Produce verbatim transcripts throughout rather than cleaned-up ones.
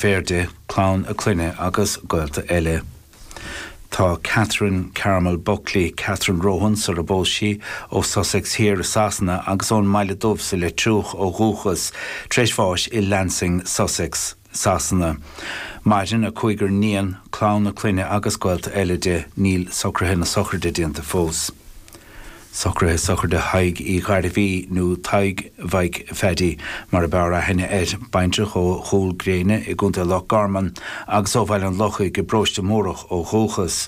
Deirféar di, clann a clainne agus gaolta eile. Tá Catherine Carmel Buckley, Catherine Rohan sar a bpós sí, ó Sussex Thiar i Sasana agus ón mBaile Dubh sa Leitriúch ó dhúchas, tar éis bháis i Lancing, Sussex, Sasana. Maireann a cúigear níon, clann a clainne agus gaolta eile di. Níl socruithe na sochraide déanta fós. Socruithe sochraide Thaidhg Uí Ghairbhí, nó Tadhg Mhaidhc Pheaidí mar ab fhearr aithne air, baintreach ó Chúil Gréine i gContae Loch Garman agus ó Bhaile an Lochaigh i bparóiste Mórdhach ó dhúchas.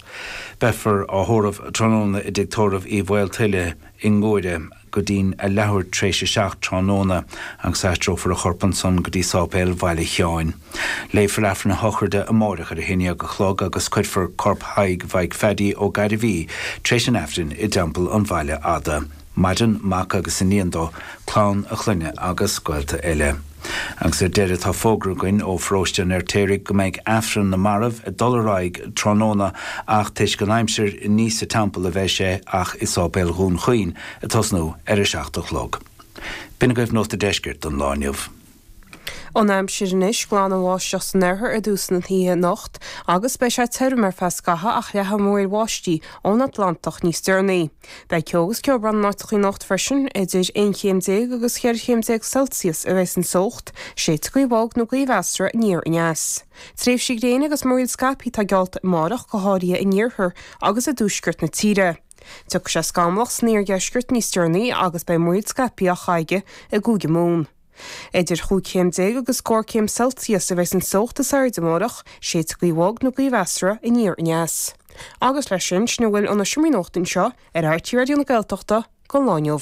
Beifear á thórramh tráthnóna i dTigh Tórraimh Uí Mhaoltuile i nGuaire go dtí'n a leathuair tar éis a seacht tráthnóna agus aistreofar a chorp ansan go dtí Sáipéal Bhaile Sheáin. Léifear Aifreann a shochraide amáireach ar a haon dhéag a chlog agus cuirfear corp Thaidhg Mhaidhc Pheaidí Ó Gairbhí tar éis an Aifrinn i dTeampall an Bhaile Fhada. Maireann mac agus iníon dó, clann a chlainne agus gaolta eile. Agus ar deireadh tá fógra againn ó Pharóiste an Fheirtéaraigh go mbeidh Aifreann na Marbh ag dul ar aghaidh tráthnóna ach toisc an aimsir ní sa teampall a bheidh sé ach i Sáipéal Dhún Chaoin ag tosnú ar a seacht a chlog. B'in agaibh Nuacht an Deiscirt don lá inniu. An aimsir anois, glanbháisteach san oirthear i dtús na hoíche anocht agus beidh sé tirim ar feadh scaithimh ach leathfaidh múraíl bháistí ón Atlantach níos deireanaí. Beidh ceo agus ceobhrán in áiteacha anocht freisin, idir aon chéim déag agus cheithre chéim déag Celsius a bheidh an teocht, séidfidh gaoth bhog nó gaoth mheasartha aniar aneas. Tréimhsí gréine agus múraíl scaipthe atá geallta amárach, go háirithe in iarthar agus i dtuaisceart na tíre. Tiocfaidh sé scamallach san iardheisceart níos deireanaí agus beidh múraíl scaipthe á caitheamh i gCúige Mumhan. Idir chúig chéim déag agus scór céim Celsius a bheidh an teocht is airde amárach, séidfidh gaoth bhog nó gaoth mheasartha aniar aneas. Agus leis sin, sin a bhfuil ó na seomraí nuachta anseo ar RTÉ Raidió na Gaeltachta don lá inniu.